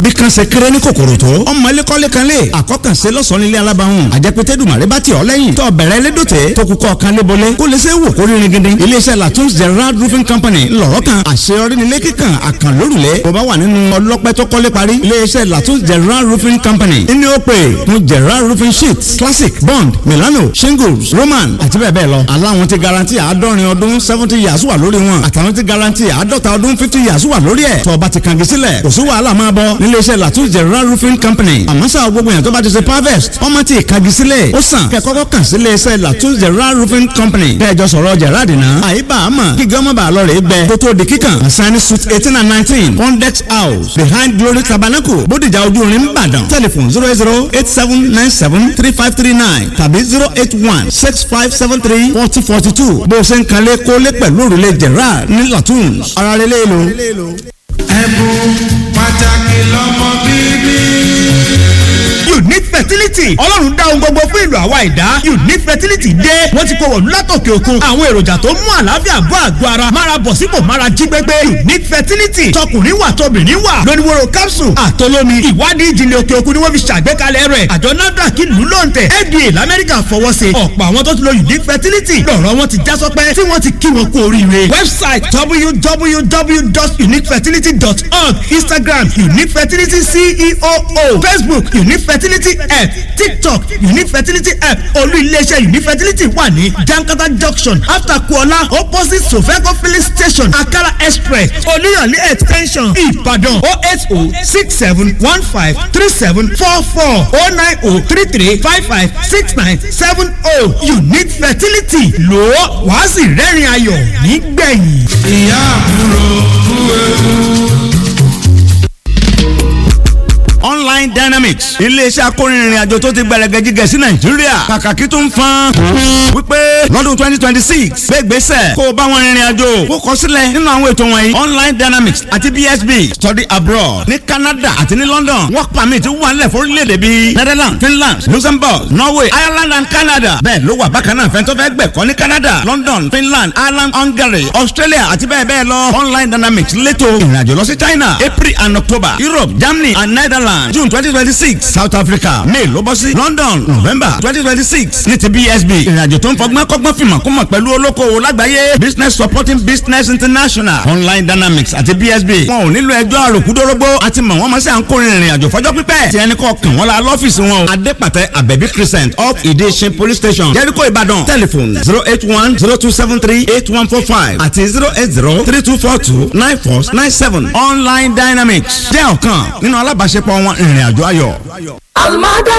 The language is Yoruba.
Bí kan ṣe kéré ní kòkòrò tó, ọmọ ilé kọ́lé kan lé. Àkọ́kànṣe lọ́sàn-án nílé alábàáhùn. Àjẹpẹ́tẹ́ dùmàrè bá ti ọ̀ lẹ́yìn. Tó bẹ̀rẹ̀ lédòtẹ́ tó kúkọ́ kan lébolé. Kó lè ṣe wò kó rírin gidi. Iléeṣẹ́ Latun's Gerard Roofing Company ńlọrọ̀ kan. Àṣeyọrí nílé kíkan àkànlórùlé. Bó bá wà nínú ọlọ́pẹ́ tó kọ́lé parí. Iléeṣẹ́ Latun's Gerard Roofing Company ní ó pè fún Gerard Roofing Sheets, Classic, Bond, Milano, Shingles, Roman àti bẹ́ẹ̀ bẹ́ẹ̀ lọ. Aláwọn ti garanti 70 ọdún 70 years wà lórí wọn. Àtàwọn ti garanti 50 ọdún 50 years wà lórí ẹ̀. Tó bá ti kàngi sílẹ̀, kò sí wàhálà, máa bọ̀ níléeṣẹ́ Latun's Gerard Roofing Company. Àmọ́ sáà, gbogbo yẹn tó bá ti ṣe harvest, ọmọ ti kàngi sílẹ̀. Ó sàn kẹ́ kọ́kọ́ kàn sí iléeṣẹ́ Latun's Gerard Roofing Company. Kẹjọ sọ̀rọ̀ Gerard náà. Àyíbá àmọ́ kí gọ́mọ̀ bá lọ rè é gbẹ kó tó di kíkàn. Asani Suite 18 and 19, Pondex House, behind Glory Tabernacle, Bódìjà, Ojú Irin, Ìbàdàn. Telephone 08087973539 tàbí 08165734042. Bó o ṣe ń kalẹ̀ kólé pẹ̀lú òrùlé Gerard ní Latun's. Ara rẹ̀ lé lo. Ẹ̀bùn pàtàkì lọ́mọ bíbí. Unique Fertility, Ọlọ́run dá ohun gbogbo fún ìlú àwa ìdá. Unique Fertility dé, wọ́n ti kó wọ̀lú látòkè òkun àwọn èròjà tó mú àlàáfíà bọ́ àgọ́ ara, mára bọ̀ sípò, mára jí pépé. Unique Fertility, tọkùnrin wà, tóbìnrin wà, lóníwòrò capsule àtolómi. Ìwádìí ìjìnlẹ̀ òkè òkun ni wọ́n fi ṣàgbékalẹ̀ rẹ̀. Àjọ NAFDAC ìlú lóǹtẹ̀, FDA lamẹ́ríkà fọwọ́ sí. Ọ̀pọ̀ àwọn tó ti lo Unique Fertility lọ̀rọ̀ wọn ti já sọpẹ́, tí wọ́n ti kí wọn kú oríire. Website www.uniquefertility.org, Instagram Unique Fertility CEO, Facebook Unique Fertility App, TikTok Unique Fertility App. Olú iléeṣẹ́ Unique Fertility wà ní Jankata Junction, after Kuola, opposite Sofeco Filling Station, Akala Express, Olúyọ̀lé Extension, Ìbàdàn. 08067153744, 09033556970. Unique Fertility, lò ó, wàá sì rẹ́rìn ayọ̀ nígbẹ̀yìn. Ìyá àbúrò kú ewu. Online Dynamics, iléeṣẹ́ akórinrin àjò tó ti gbẹrẹgẹjigẹ sí Nàìjíríà, kàkàkí tó ń fan wípé lọ́dún 2026, gbégbèsè kó o bá wọn rìnrìn àjò, kó kọ sílẹ̀ nínú àwọn ètò wọ̀nyí: Online Dynamics àti BSB study abroad ní Canada àti ní London. Work permit wà nílẹ̀ fún orílẹ̀-èdè bíi Netherlands, Finland, Luxembourg, Norway, Ireland and Canada. Bẹ́ẹ̀ ló wà bákan náà fẹ́ntọ́ fẹ́ gbẹ̀kọ́ ní Canada, London, Finland, Ireland, Hungary, Australia àti bẹ́ẹ̀ bẹ́ẹ̀ lọ. Online Dynamics létò ìrìnàjò lọ sí China, April and October, Europe, Germany and Netherlands, June 2026, South Africa, May ló bọ́ sí London, November 2026. Ní ti BSB, ìrìnàjò tó ń fọgbọ́n kọ́gbọ́n fìmọ̀ kó mọ̀ pẹ̀lú olókoòwò lágbàáyé, Business Supporting Business International. Online Dynamics àti BSB, wọn ò nílò ẹjọ́ àròkúdórógbó àti mọ̀ wọ́n mọ̀ sí à ń kórè ìrìnàjò fọjọ́ pípẹ́. Tí ẹni kọ́ kàn wọ́n la lọ́fíìsì wọn o, Adépàtẹ, Abẹ́bí Crescent up, Ìdíṣin Police Station, Jericho, Ìbàdàn. Telephone 08102738145 àti 08032429497. Online Dynamics jẹ́ ọ̀kan nínú alábàáṣepọ̀ wọn, ìrìnàjò ayọ̀. Almada.